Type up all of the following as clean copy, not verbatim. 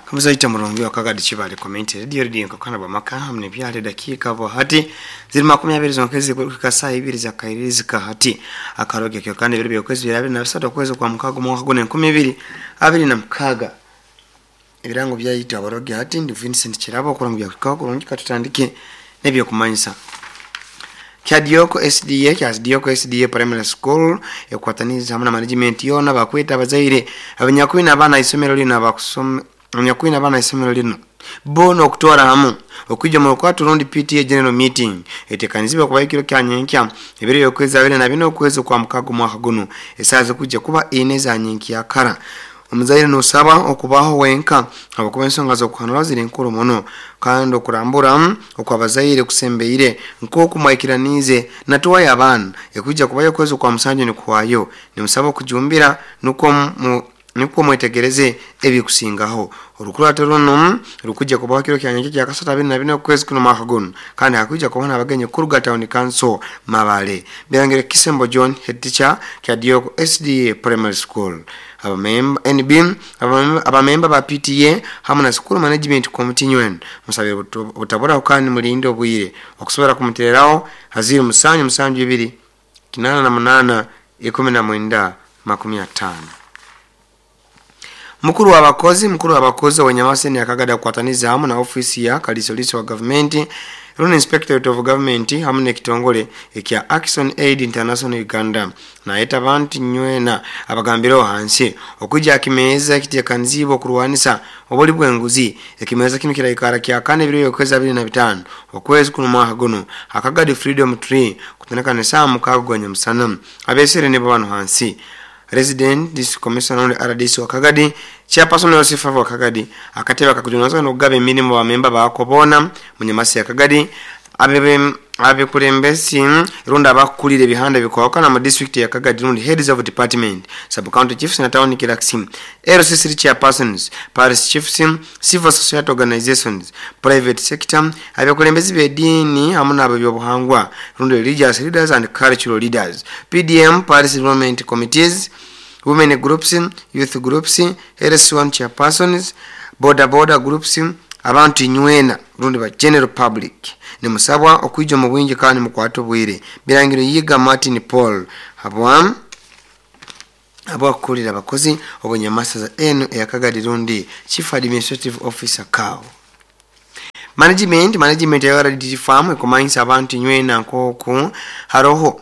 Kamuzaita murungi wakagadi Kibale Community Radio, radio nkakana bamaka hamwe nebyale dakika bo hati ziri 20 zonkezi kuruka saa 2 za kairizi kahati akaroge kyo kandi biri byokwezi 23 kwezi kwa mukago mwaka gune 2026. Ebirango byayita abaroge hati ndi Vincent Kirabo okurango bya kurungi katutandike nebyo kumanyisa. Kyadioko SDA, Kyadioko SDA Primary School ekwataniza hamwe na management yona bakweta abazaire abanyakwina abana isomero lino abakusoma abanyakwina abana isomero lino bono okutwara hamu okwijja mu lukwatu rundi PTA General Meeting etekanizibwa kuba ekiro kya nyenkya ebiro yokwezi 24 okwezi kwa mukago mwaka guno esaaza kujja kuba ine za nyenkya kara. Omuzaire nosaba okubaho wenka abakuba ensonga z'okuhanura ziri nkuru muno kandi okurambura okwabazaire kusembeire nk'oku mwikiranize natuwayo abaana ekujja kubayo okwezi kwa musanju nikuwayo nimusaba okujumbira nukwo mwetegereze ebikusingaho. Orukurato runo rukujja kubaho kiro kya nyenkya kya kasatu 24 okwezi kuno mwaka guno kandi hakujja kubaho n'abagenyi kuruga Town Council Mabale. Birangire Kisembo John, head teacher, Kyadioko SDA Primary School. Abamemba NB, abamemba ba PTA hamwe na School Management Committee nywena musabe butabura kandi mulinde obwire okusobora kumutereraho haziri 7 7 2 8 8 19 50. Mukuru wa Wanyamaseni akagada kukwataniza hamu na ofisi ya kalisoliso wa government Run Inspectorate of Government hamu n'ekitongole ekya Action Aid International Uganda naeta abantu nywena abagambiraho hansi okujja akimeza ekitekanizibwa okurwanisa obuli bw'enguzi. Ekimeza kino kiraikara kya kane ebiro yokwezi 25 okwezi kuno mwaka guno akagadi Freedom Tree kutandika n'esaaha 6 gwa nyamusana. Abesere nibo bano hansi Resident District Commissioner RDC wa Kagadi, Chairperson Yosef wa Kagadi, akatebe akakujunaza n'okugaba emirimu bamemba bakobona munyamasi ya Kagadi, abekulembesi runda abakulira ebihanda bikwawukana mu district ya Kagadi rundi heads of department, sub county chiefs na town clerks, LCC chairpersons, parish chiefs, civil society organizations, private sector, abekulembezi b'eddiini hamu n'ab'ebyobuhangwa rundi religious leaders and cultural leaders, PDM, parish development committees, women groups, youth groups, LC1 chairpersons, border border groups, abantu nywena rundi ba general public nimusabwa okwijja mu bwingi kandi mukwate obwire. Birangiro Yiga Martin Paul abwakukulira abakozi obunyamasasa eno eyakagadi rundi Chief Administrative Officer CAO. Management ya RDT farm ekumanyisa abantu nywena nkoku haroho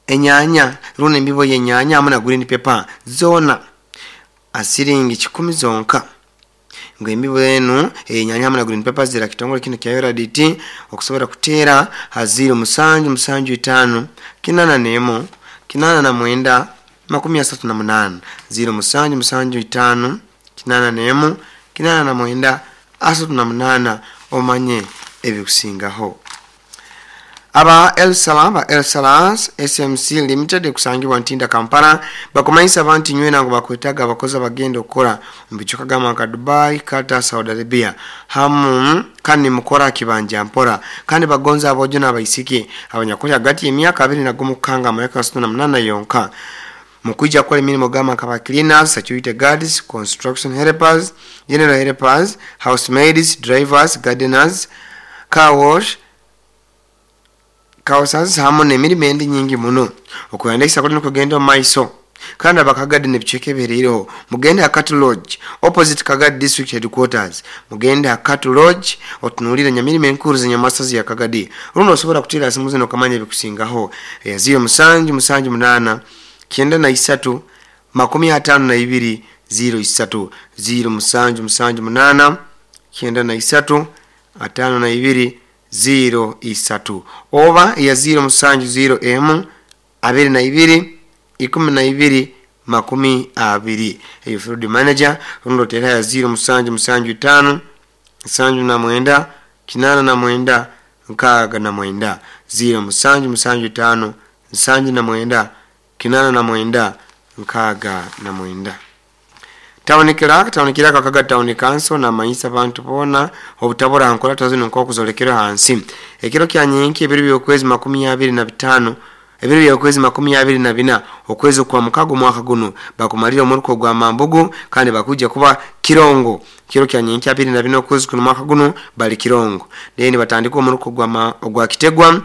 enyanya rundi embibo y'enyanya hamwe na green pepper zona asiringi 10 zonka. Ngo embibo enu enyanya hamwe na green pepper zira kitongole kino kya RDT okusobora kuteera haziro 7 7 5 81 89 38 0 7 7 5 81 89 38 omanye ebikusingaho. Aba El Salam, ba El Salas SMC Limited kusangibwa Ntinda Kampala bakumanyisa abantu nywena ngo bakwetaga abakozi abagenda okukora mu bicuka gama nka Dubai, Qatar, Saudi Arabia hamu kandi mukora kibanja mpora kandi bagonza abojo n'abaisiki abanyakuli hagati y'emyaka 21 kukanga amyaka 68 yonka mukuja kwa emirimu gama nka ba cleaners, security guards, construction helpers, general helpers, housemaids, drivers, gardeners, car wash kausas hamu n'emirimu endi nyingi muno. Okuyandikisa kuli nokugenda omu maiso kandi abakagadi n'ebicweka ebiriireho mugende Akatu Lodge opposite Kagadi District Headquarters, mugende Akatu Lodge otunuulire nyamirimo enkuru z'enyamasazi ya Kagadi. Runo osobola kuteera simu zino okamanya ebikusingaho eya 0 7 7 8 93 52 03 0 7 7 8 93 52 0 3 oba ya 0 7 0 M 22 12 20. Eyo field manager rundo tera ya 0 7 7 5 79 89 69 0 7 7 5 79 89 69. Town Clerk Kagadi Town Council na manyisa abantu bona obutabura nkola tazino nk'okuzolekera hansi ekiro kya nyenki ebiro by'okwezi 25 Ebiro by'okwezi 24 okwezi kwa mukago mwaka guno bakumalira omuruko gwa Mambugu kandi bakuja kuba Kirongo kiro kya nyenkya 24 okwezi kuno mwaka guno bali Kirongo. Then batandika omuruko gwa Kitegwa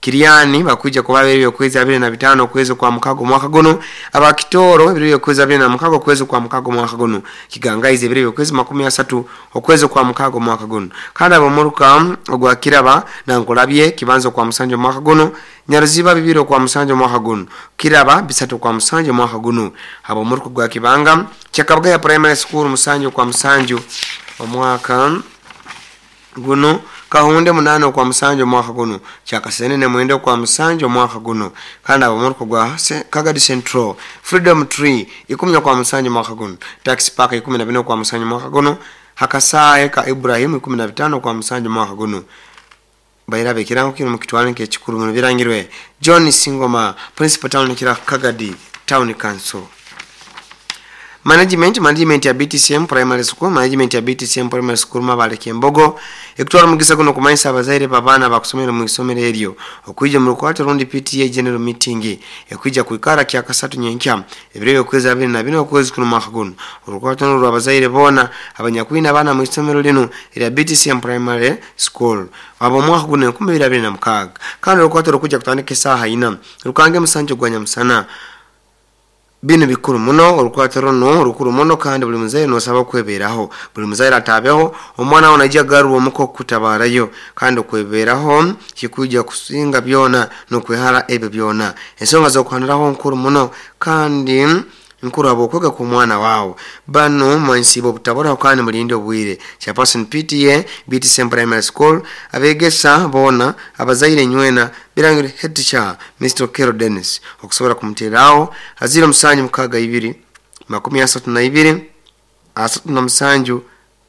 Kiriani bakuja kuba ebiro by'okwezi 25 okwezi kwa mukago mwaka guno. Abakitoro ebiro by'okwezi 26 okwezi kwa mukago mwaka guno. Kigangaize ebiro by'okwezi 30 okwezi kwa mukago mwaka guno. Kandi abomuruka ogwa Kiraba na Nkolabye kibanzo kwa musanju mwaka guno. Nyaruziba 2 kwa musanju mwaka guno. Kiraba 3 kwa musanju mwaka guno. Abomuruka gwa Kibanga Kyakabagaya Primary School 7 kwa musanju omwaka guno. Kahunde 8 kwa musanju mwaka guno. Kyakasenene 9 kwa musanju mwaka guno. Kandi abomuruka gwa Kagadi Central Freedom Tree 10 kwa musanju mwaka guno. Taxi Park 14 kwa musanju mwaka guno. Hakasaye ka Ibrahim 15 kwa musanju mwaka guno. Bairabe kirango kino mukitwale nk'ekikuru muno birangirwe John Singoma Principal Town kira Kagadi Town Council. Management ya BTCM Primary School, management ya BTCM Primary School Mabale Kembogo ekutwala mugisa kuno kumanyisa abazaire babana bakusomera mu isomero eryo okuija mu lukwata rundi PTA General Meeting ekuija kuikara kya kasatu nyenkya ebiro by'okwezi 24 okwezi kuno mwaka guno. Olukwata n'olwa abazaire bona abanyakwina abana mu isomero lino erya BTCM Primary School abo mwaka guno 2026. Kandi olukwata rukuja kutandika isaha 4 rukange musanju gwa nyamusana. Bino bikuru muno olukwata runo rukuru muno kandi buli muzaire nosaba kweberaho. Buli muzaire atabeho omwana onajja garuwa omuko kutabarayo kandi okweberaho kikuja kusinga byona nokwehara ebyo byona. Ensonga z'okuhaniraho nkuru muno kandi nkuru abo okwega ku mwana wawo bano mwansibo obutabora kandi mulinde obwire. Chairperson PTA BTCM Primary School abegesa bona abazaire nywena birangire head teacher Mr. Kero Dennis okusobola kumuterawo aziro 762 32 37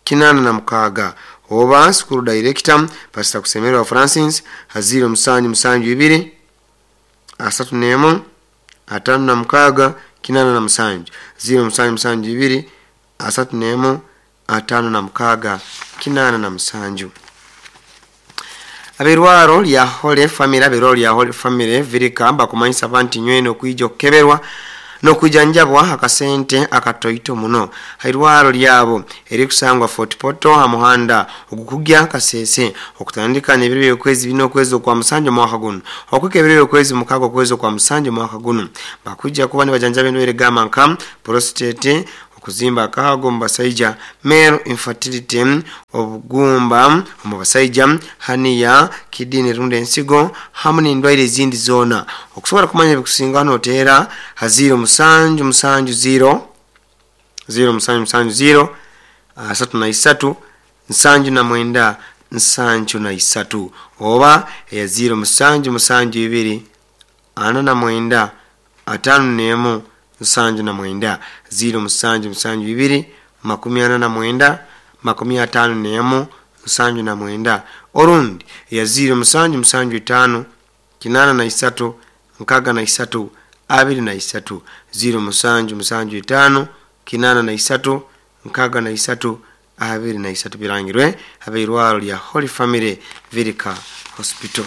86 oba school director Pastor Kusemerwa Francis aziro 772 31 56 87 0772 31 56 87. Aberwaro lya Holy Family, aberwaro lya Holy Family virika bakumanyisa abantu nywene okuija okukeberwa nokujanjabwa akasente akatoito muno. Hairwaro lyabo erikusangwa Fort Portal hamuhanda ogukugya Kasese okutandika n'ebiro by'okwezi bino okwezi kwa musanju mwaka guno okwika ebiro by'okwezi mukago okwezi kwa musanju mwaka guno bakujja kuba nibajanjaba endwaire gamba nka prostate, okuzimba akahago mu basaija, male infertility, obugumba mu basaija, hernia, kidney rundi ensigo hamu n'endwaire ezindi zoona. Okusobola kumanya ebikusinga noteera ha 0770 0770 33 79 73 oba eya 0772 49 51 79 0772 49 51 79 orundi ya 0775 83 63 23 0775 83 63 23 birangirwe abeirwaro lya Holy Family Virika Hospital.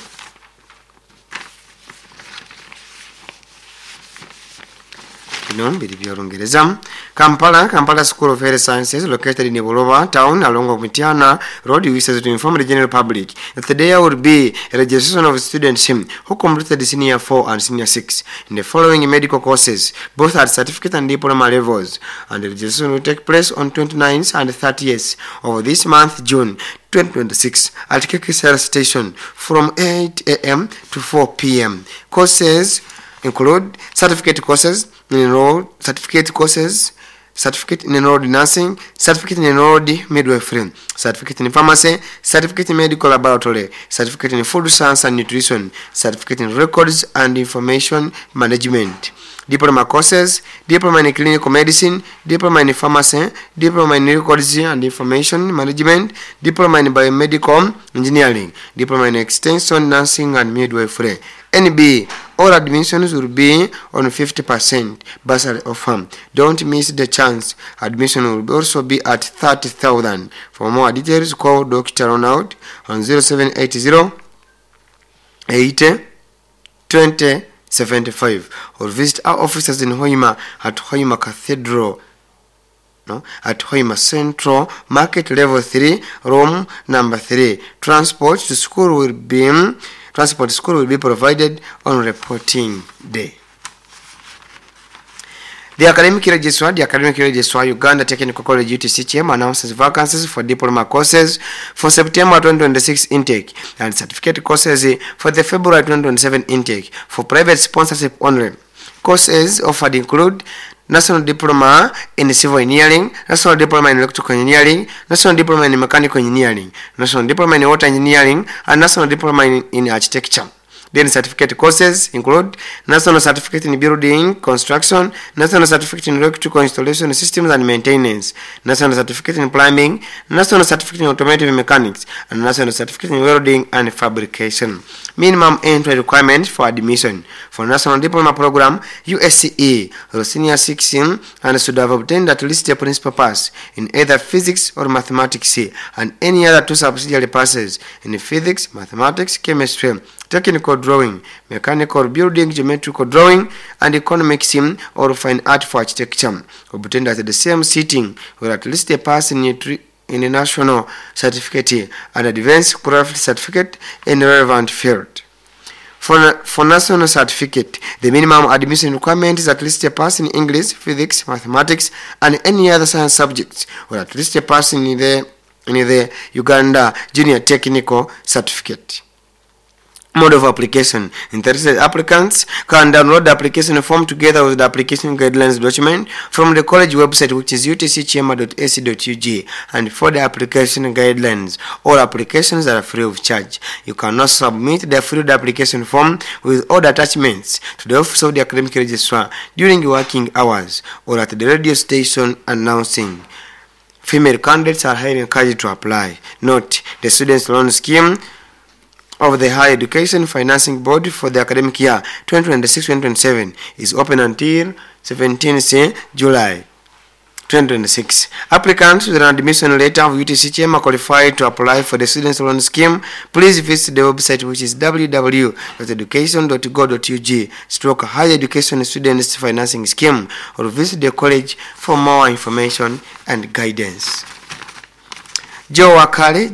Biri by'Olungereza. Kampala School of Health Sciences located in Buloba town along Mitiana Road wishes to inform the general public that there will be a registration of students who completed senior 4 and senior 6 in the following medical courses, both at certificate and diploma levels, and the registration will take place on 29th and 30th of this month, June 2026, at KK Health Station from 8 a.m. to 4 p.m. Courses include certificate courses in enrolled certificate courses, certificate in enrolled nursing, certificate in enrolled midwifery, certificate in pharmacy, certificate in medical laboratory, certificate in food science and nutrition, certificate in records and information management, diploma courses, diploma in clinical medicine, diploma in pharmacy, diploma in records and information management, diploma in biomedical engineering, diploma in extension nursing and midwifery. NB, all admissions will be on 50% bursary offer. Don't miss the chance. Admission will also be at 30,000. For more details, call Dr. Ronald on 0780 80 20 75 or visit our offices in Hoima at Hoima Cathedral, no, at Hoima Central Market Level 3, room number 3. Transport to school will be provided on reporting day. The academic registrar, Uganda Technical College UTC Kyema announces vacancies for diploma courses for September 2026 intake and certificate courses for the February 2027 intake for private sponsorship only. Courses offered include National Diploma in Civil Engineering, National Diploma in Electrical Engineering, National Diploma in Mechanical Engineering, National Diploma in Water Engineering, and National Diploma in Architecture. Then certificate courses include National Certificate in Building Construction, National Certificate in Electrical Installation Systems and Maintenance, National Certificate in Plumbing, National Certificate in Automotive Mechanics, and National Certificate in Welding and Fabrication. Minimum entry requirement for admission for National Diploma Program USCE or Senior 6 and should have obtained at least a principal pass in either physics or mathematics and any other two subsidiary passes in physics, mathematics, chemistry, technical drawing, mechanical building, geometrical drawing, and economics or fine art for architecture, obtained at the same sitting or at least a pass in a national certificate and advanced craft certificate in relevant field. For national certificate, the minimum admission requirement is at least a pass in English, physics, mathematics, and any other science subjects, or at least a pass in the Uganda Junior Technical Certificate. Mode of application. Interested applicants can download the application form together with the application guidelines document from the college website, which is utckyema.ac.ug, and for the application guidelines, all applications are free of charge. You can also submit the filled application form with all the attachments to the office of the academic registrar during working hours or at the radio station announcing. Female candidates are highly encouraged to apply. Note, the students loan scheme of the Higher Education Financing Board for the academic year 2026-2027 is open until 17th July 2026. Applicants with an admission letter of UTC Kyema qualified to apply for the students loan scheme, please visit the website, which is www.education.go.ug/higher education students financing scheme, or visit the college for more information and guidance. Jua Kali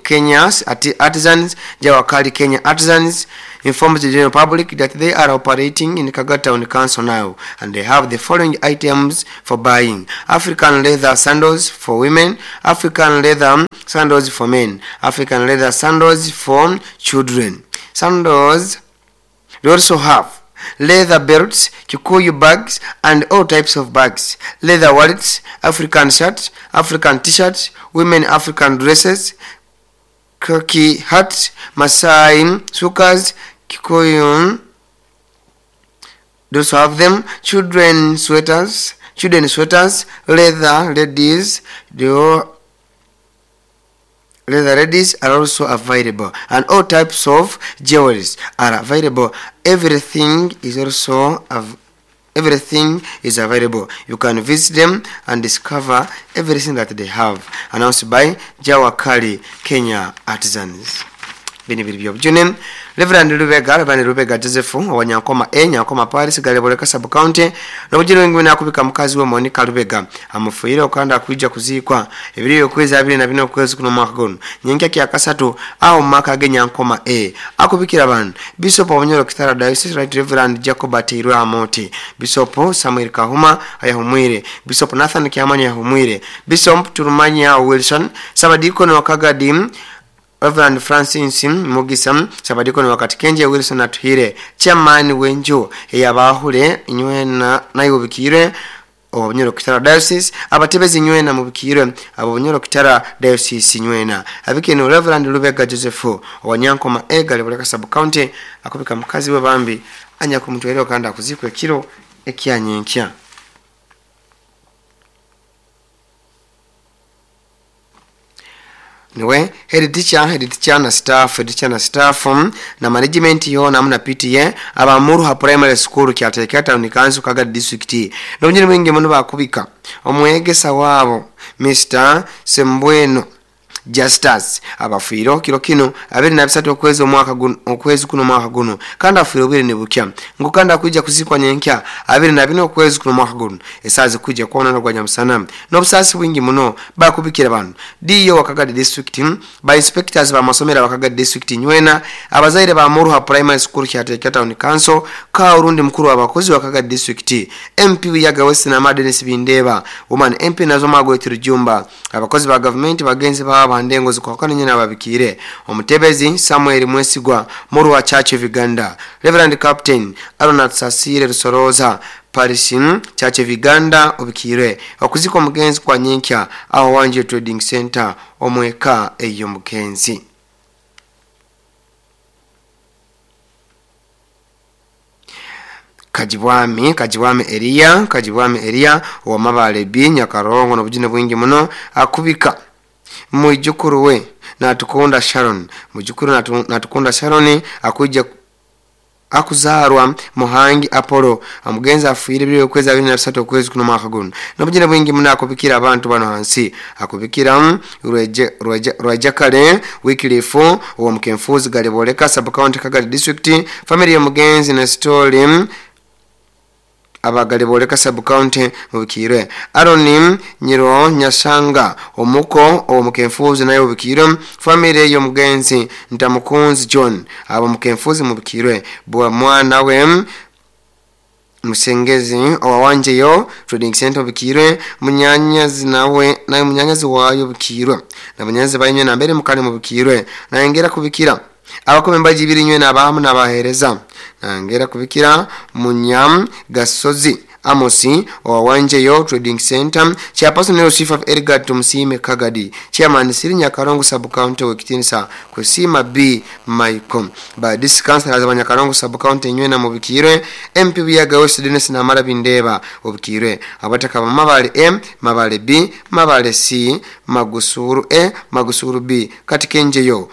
Kenya's Artisans, Jua Kali Kenya Artisans informs the general public that they are operating in Kagadi Town Council now and they have the following items for buying: African leather sandals for women, African leather sandals for men, African leather sandals for children. Sandals, they also have leather belts, Kikuyu bags, and all types of bags, leather wallets, African shirts, African t-shirts, women African dresses, khaki hats, Masai sukas, Kikuyu. They also have them, children sweaters, leather ladies. They all leather ladies are also available, and all types of jewelries are available. Everything is available. You can visit them and discover everything that they have. Announced by Jua Kali Kenya Artisans. Bino biri byobujune. Reverend Lubega Joseph owa Nyankoma A, Nyankoma Parish, Galeboleka Sub County, n'obujune wengine akubika mukazi we Monica Lubega amufuire okanda akwijja kuziikwa ebiri okwezi 24 okwezi kuno mwaka guno nyenkya kya kasatu awo mu maka ge Nyankoma A. Akubikira bano Bishop wa Bunyoro Kitara Diocese, Right Reverend Jacob Ateirwe Amoti, Bishop Samuel Kahuma ayahumwire, Bishop Nathan Kiamanya yahumwire, Bishop Turumanya Wilson, Sabadikoni wa Kagadi Reverend Francis Mugisa, Sabadikoni wakati Kenje Wilson Atuhire, chairman wenju eyabahule inywena nayubikire owa Bunyoro Kitara Diocese, abatebezi nywena mubikire abo Bunyoro Kitara Diocese nywena. Abikino Reverend Lubega Joseph owa Nyankoma A, Galeboleka Sub County, akubika mukazi we bambi anya kumutwere kandi akuzikwa ekiro ekyanyenkya. Niwe head teacher na staff, head teacher na staff na management yona amuna PTA abamuruha Primary School, Kyateeka Town Council, Kagadi District, n'obujune bwingi muno bakubika omwegesa waabo Mr Sembweno. Justus abafiireho kiro kinu 23 okwezi omwaka guno okwezi kuno mwaka guno kandi afiire obwire nibukya ngu kandi akwija kuzikwa nyenkya 24 okwezi kuno mwaka guno esaazi kwijja kwonana gwa nyamusana n'obusaasi bwingi muno bakubikira bano DO wa Kagadi district ba inspectors ba masomero aba Kagadi district nywena abazaire ba Muruha Primary School Kyateeka Town Council ka orundi mukuru w'abakozi wa Kagadi district MP Buyaga West na Denis Bindeba woman MP nazo Margaret Rujumba abakozi ba government bagenzi baba bandengo zikwakana nyina babikire omutebezi Samuel Mwesigwa Muruha Church of Uganda Reverend Captain Arnold Sasire Rusoroza Parish Church of Uganda obikire okuzika omugenzi kwa nyenkya aho Wanje Trading Center omweka eyo mugenzi. Kajibwami Elia wa Mabale B Nyakarongo n'obujune bwingi muno akubika mwijukuru we Natukunda Sharon mwijukuru Natukunda Sharon akuja akuzarwa Muhangi Apollo amugenza afuire biri okwezi 23 okwezi kuno mwaka guno n'obujune bwingi muno akubikira abantu bano hansi akubikira Rwejakale Wycliffe wa Mkenfuzi Galiboleka sub county Kagadi district family ya mugenzi na story abagaliboleka sub county mubikirwe Aaron Nyiro Nyasanga omuko omukenfuzi nayo mubikirwe family yo mugenzi Ntamukunzi John abo mukenfuzi mubikirwe bwa mwana we Musengezi owawanje yo Trading Center bikirwe munyanyazi nawe nayo munyanyazi wayo bikirwe na munyanyazi bayinywe na mbere mukane mubikirwe nayengera kubikira abakome mbaji birinywe nabahamu nabahereza nangera kubikira Munyam Gasozi Amosi owawanje yo Trading Center chairperson yo Chief of Edgar Tumsime Kagadi chairman Siri Nyakarongo sub county wekitinsa kusima B Michael ba district council za Nyakarongo sub county nywe na mubikirwe MP Buyaga West Denis na Mara Bindeba obikirwe abataka ba Mabale M Mabale B Mabale C Magusuru A Magusuru B Katikenjeyo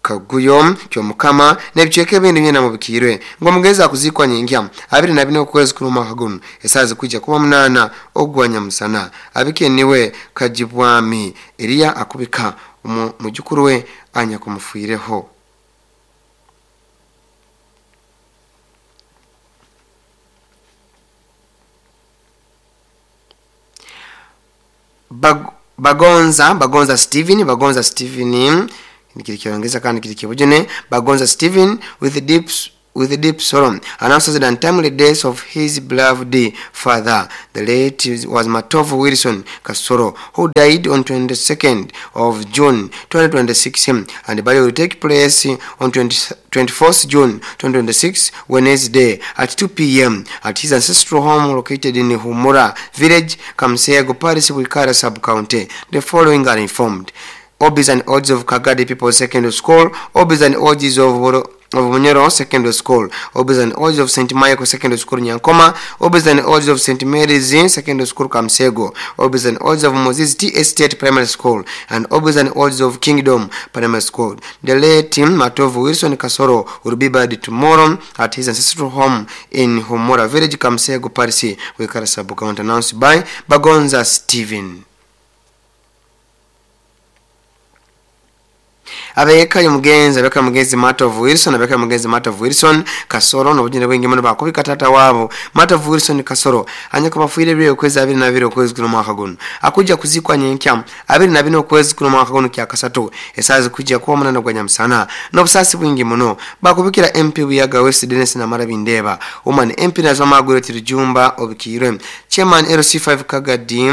Kaguyo kyomukama nebicheke bindi nyena mubikirwe ngo mugeza kuzikwa nyingya 24 okwezi kuno mwaka guno esazi kwijja kuba 8 ogwanya musana abikeniwe Kajibwami Elia akubika mujukuru we anya kumufuireho. Bagonza Steven nikirikiongeza kandi kirikibujene Bagonza Steven with deep sorrow announces the untimely death of his beloved father. The late was Matovu Wilson Kasoro, who died on 22nd of June 2026, and the burial will take place on 24th June 2026, Wednesday at 2 p.m. at his ancestral home located in Humura Village, Kamsego Parish, Wikara Sub-County. The following are informed: Obis and Odds of Kagadi People Secondary School, Obis and Odds of Munyoro Secondary School, Obis and Odds of St. Michael Secondary School Nyankoma, Obis and Odds of St. Mary's Secondary School Kamsego, Obis and Odds of Moses T. Estate Primary School, and Obis and Odds of Kingdom Primary School. The late Matovu Wilson Kasoro will be buried tomorrow at his ancestral home in Humura Village, Kamsego Parish, Wikara Sub-County, announced by Bagonza Steven. Abeka mugenzi Matovu Wilson Kasoro n'obujune bwingi muno bakubika tata wabo Matovu Wilson Kasoro anyako bafuire biri okwezi 22 okwezi kuno mwaka guno akuja kuzikwa nyenkya 24 okwezi kuno mwaka guno kya kasatu esazi kujja kuba 8 gwa nyamusana n'obusasi bwingi muno bakubikira MP Buyaga West Denis na Mara Bindeba woman MP nazo Margaret Rujumba obikirwe chairman LC5 Kagadi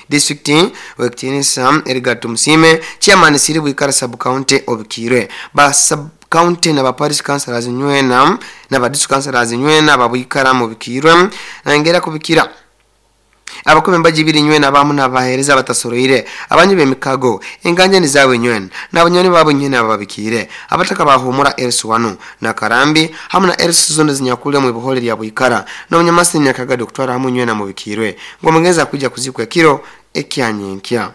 district wekitinisa Edgar Tumsime chairman Siri Wikara sub county obikirwe ba sub county na ba parish councillors nywena na ba district councillors nywena babwikara mu bikirwe nangera kubikira abakome mbaji biri nywena abamu nabahereza batasoroire abanyu bemikago inganje ni zawe nywena nabanyoni babo nywena babikire abataka bahumura LC1 na Karambi hamwe na LC zone zinyakule mu buhole lya Bwikara no munyamasi nyakaga doktora hamwe nywena mu bikirwe ngo mugeza kujya kuzikwa kiro ekyanyenkya.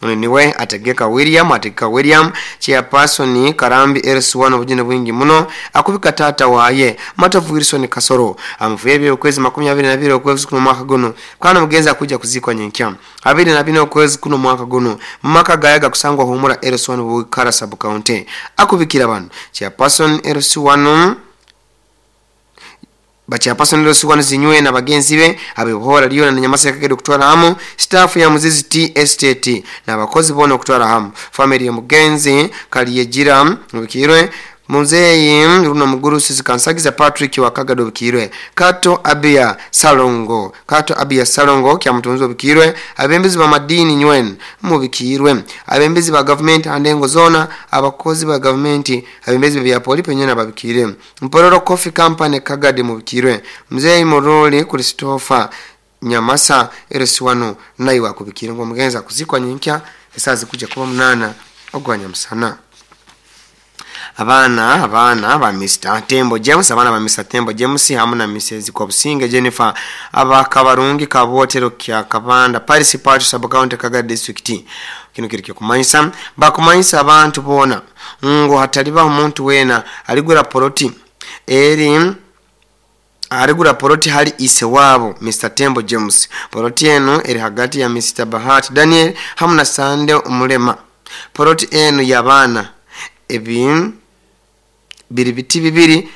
Ono niwe Ategeka William. Ategeka William chairperson Karambi LC1 obujune bwingi muno akubika tata waye Matovu Wilson Kasoro amuvuye okwezi 22 okwezi kuno mwaka guno kana mugenza kuja kuzikwa nyenkya 24 okwezi kuno mwaka guno mumaka gayaga kusangwa humura LC1 Bukara sub county akubikira bano chairperson LC1 bachairperson LC1 zinywe na bagenzi be abihora liyo na Nyamasa kagedo kutwara hamu staff ya Muzizi Tea Estate na abakozi bona okutwara hamu family ya mugenzi Kaliyejira Mubikirwe Muzeyi Runo Muguru Sisi Kansagiza Patrick wa Kagado Bikirwe Kato Abia Salongo Kato Abia Salongo kya mutunzi Bikirwe abembezi ba madini nywen mubikirwe abembezi ba government andengo zona abakozi ba government abembezi bya poli penyena babikire Mpororo Coffee Company Kagade mubikirwe Muzeyi Moroli Christopher Nyamasa LC1 nayi wakubikire ngo mugenza kuzikwa nyinkya esazi kuja kuba 8 ogwanya musana. Abana ba Mr. Tembo James, abana ba Mr. Tembo James hamwe na Mrs. Kobusinge Jennifer abakabarungi kabotero kya Kabanda Paris Part sub county Kagadi district. Kino kiri kumanyisa bakumanyisa abantu bona ngo hataliba omuntu wena aligura poloti eri aligura poloti hali ise wabo Mr. Tembo James. Poloti eno eri hagati ya Mr. Bahati Daniel hamwe na Sande Omulema. Poloti eno yabana ebi biri biti bibiri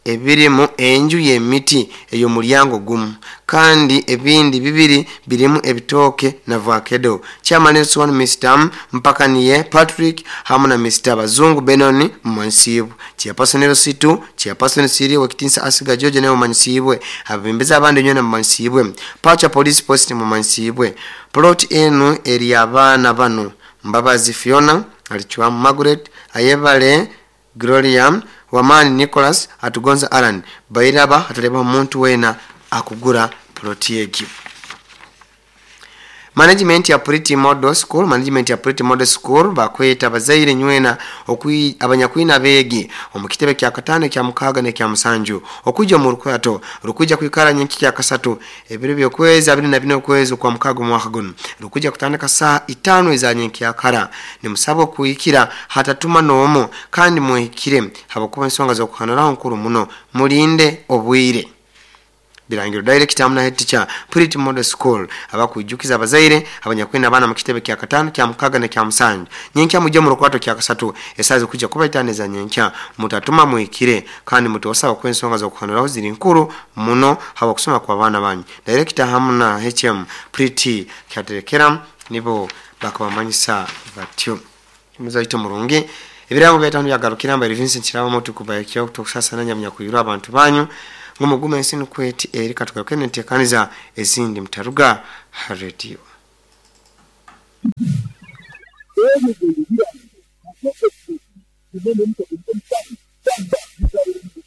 ebirimu enju y'emiti eyo mulyango gumu kandi ebindi bibiri birimu ebitoke na vakedo. Chairman LC1 Mr. Mpakaniye Patrick hamwe na Mr. Bazungu Benoni Mmansibu. Chairperson LC2 Chairperson Siri Wekitinsa Asiga George naye Mmansibwe abembeza abandi nyona Mmansibwe Pacha Police Post Mmansibwe. Plot enu eri abaana bano Mbabazi Fiona Alichwa Margaret Ayebale Gloria Wamani Nicholas Atugonza Alan Bairaba ataleba omuntu wena akugura ploti egi. Management ya Pretty Model School, management ya Pretty Model School bakweta bazaire nywena abanyakwina begi omukitebe kya katano kya mukaga ne kya musanju okuja mu rukwato rukuja kwikara nyenki kya kasatu ebiro byokwezi 24 okwezi kwa mukaga mwaka guno rukuja kutandika saa 5 za nyenki ya kara ni musabo kuikira hatatuma nomo kandi muhikire habakuba ensonga zo kuhanura nkuru muno mulinde obwire. Birangiro director amna head teacher Pretty Model School abakujukiza abazaire abanyakwenda abana mu kitebe kya katano kya mukaga ne kya musanju nyenkya mujye mu rukwato kya kasatu esazi kujja kuba itaneza nyenkya mutatuma muikire kandi mutosaba ku ensonga zo kuhanuraho ziri nkuru muno haba kusoma kwa bana banyu. Director hamna HM Pretty kyaterekera nibo bakabamanyisa batyo muzaito murungi ebirango byatano byagarukira mba Vincent Kiraba moto kubayekyo kutokusasa nanya kuyura abantu banyu ngumugume ensinu kweti eri katugaruke nentekaniza ezindi mutaruga radio.